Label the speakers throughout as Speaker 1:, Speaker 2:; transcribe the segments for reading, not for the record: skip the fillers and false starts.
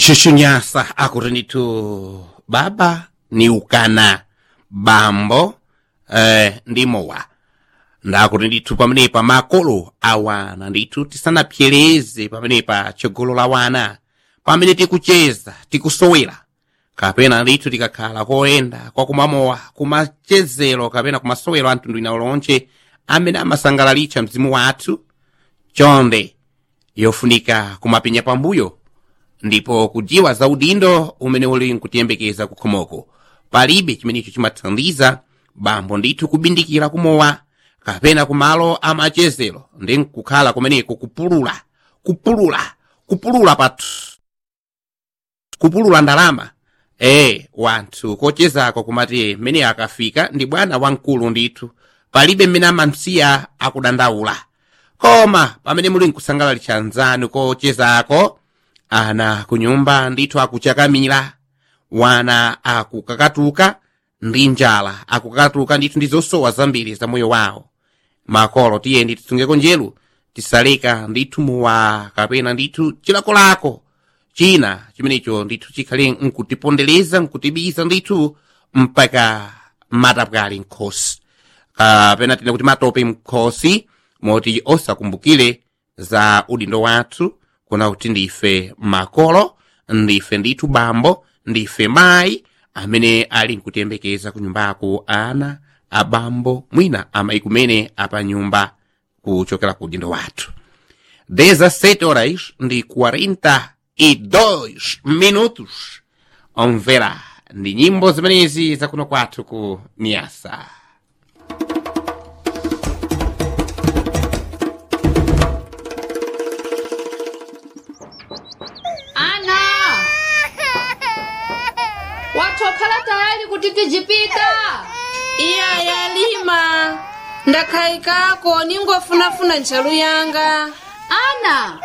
Speaker 1: Shushunyasa akuti ndithu baba ni ukana bambo ndi mowa. Ndakuti ndithu pamenepa makolo awana ndithu tisanapyereze pamenepa tsogolo la wana pamene tikucheza tikusowera kapena ndithu tikakhala koyenda kwakumamowa kumachezero kapena kumasowero a mtundu ina lonche amene amasangalalitsa mzimu wathu chonde yofunika kumapenya pambuyo ndipo kujiwa za udindo umene uli nkutiyembekeza kukhomoko. Palibe chimenecho chimathandiza bambo ndithu kubindikira kumowa kapena kumalo amachezero ndi nkukhala kumeneko kupulula kupulula kupulula pathu kupulula ndalama wanthu kochezako kumati mmene akafika ndi bwana wamkulu ndithu palibe mmene amamsiya akudandaula. Koma pamene muli nkusangalalitsa anzanu kochezako ana kunyumba ndithu akuchakamira, wana akukakatuka ndi njala, akukakatuka ndithu ndi zosowa zambiri za moyo wawo. Makolo tiyeni tisungeko nzeru, tisaleka ndithu muwa kapena ndithu chilakolako china chimenecho ndithu chikhale nkutipondereza nkutibiza ndithu mpaka matapwali nkhosi kapena tine kuti matope mkhosi moti osakumbukire za udindo wathu kuna kuti ndife makolo, ndife ndithu bambo, ndife mayi amene ali nkutiyembekeza kunyumbako ana abambo mwina amayi kumene apanyumba kuchokera ku udindo wathu. 17 horas ndi 42 minutos. Omvera ndi nyimbo zimenezi zakuno kwathu ku Niasa.
Speaker 2: Ana, watokhala tayari kuti tijipita?
Speaker 3: Iya yalima, ndakhaikako ningofunafuna ntchalu yanga.
Speaker 2: Ana,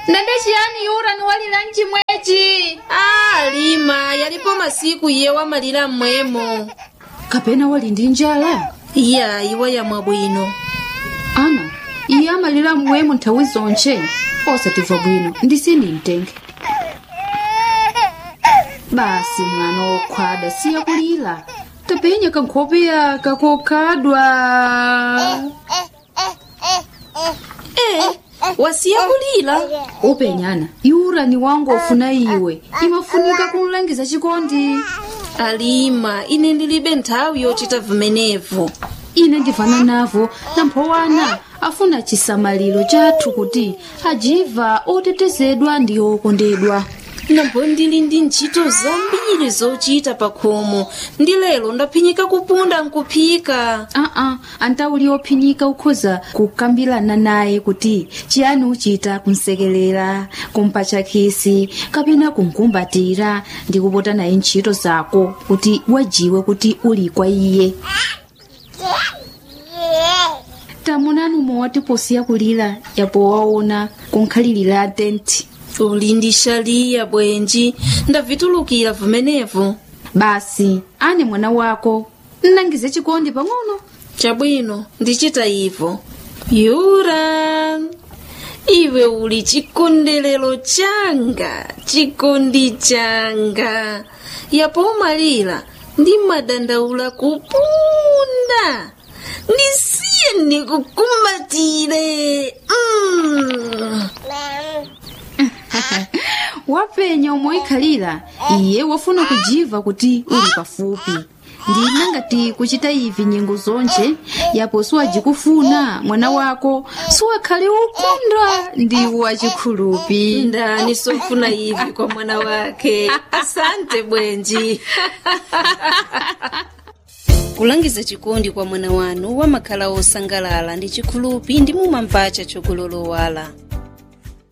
Speaker 2: ndende chiyani yura niwalira mchimwechi?
Speaker 3: Ah, lima, yalipo masiku iye wamalira mmwemo.
Speaker 2: Kapena wali ndi njala?
Speaker 3: Iya, iwa yamwa bwino.
Speaker 2: Ana, iye amalira mmwemo nthawi zonche, osatimva bwino ndisini mtenge. Basi mwana wokhwada siya kulira, tapenya kankhopeya kakokhadwa.
Speaker 3: Eh, wasiya kulira?
Speaker 2: Upenyana yura ni wangu ofuna iwe imafunika kumlangiza chikondi.
Speaker 3: Alima, ine ndilibe nthawi yochita vimenevo.
Speaker 2: Ine ndivana navo namphowana afuna chisamaliro chathu kuti ajiva otetezedwa ndi okondedwa.
Speaker 3: Nambo ndili ndi ntchito zambiri zochita pakhomo ndi lero ndaphinyika kupunda nkuphika.
Speaker 2: Aa, antauli ophinyika ukhoza kukambirana naye kuti chiyani uchita kumsekelera, kumpatcha khisi kapena kumkumbatira ndi kupota naye ntchito zako kuti wajiwe kuti uli kwa iye. Tamunani umwe posiya kulira yapo waona kunkhalirira tenti.
Speaker 3: Uli ndi shaliya bwenji, ndavitulukira vimenevo.
Speaker 2: Basi ane mwana wako nnangize chikondi pang'ono.
Speaker 3: Chabwino, ndichita ivo. Yura, iwe uli chikondelero changa, chikondi changa. Yapo umalira ndi madandaula kupunda. Ndisiye ndikukumbatire.
Speaker 2: Wapenya umoikhalira iye wafuna kujiva kuti uli pafupi. Ndina ngati kuchita ivi nyengo zonche yapo siwajikufuna mwana wako siwakhale ukondwa ndi wachikhulupi.
Speaker 3: Ndani sofuna ivi kwa mwana wake. Asante bwenji. Kulangiza chikondi kwa mwana wanu wamakhala osangalala ndi chikhulupi ndi mumamvacha chogololowala.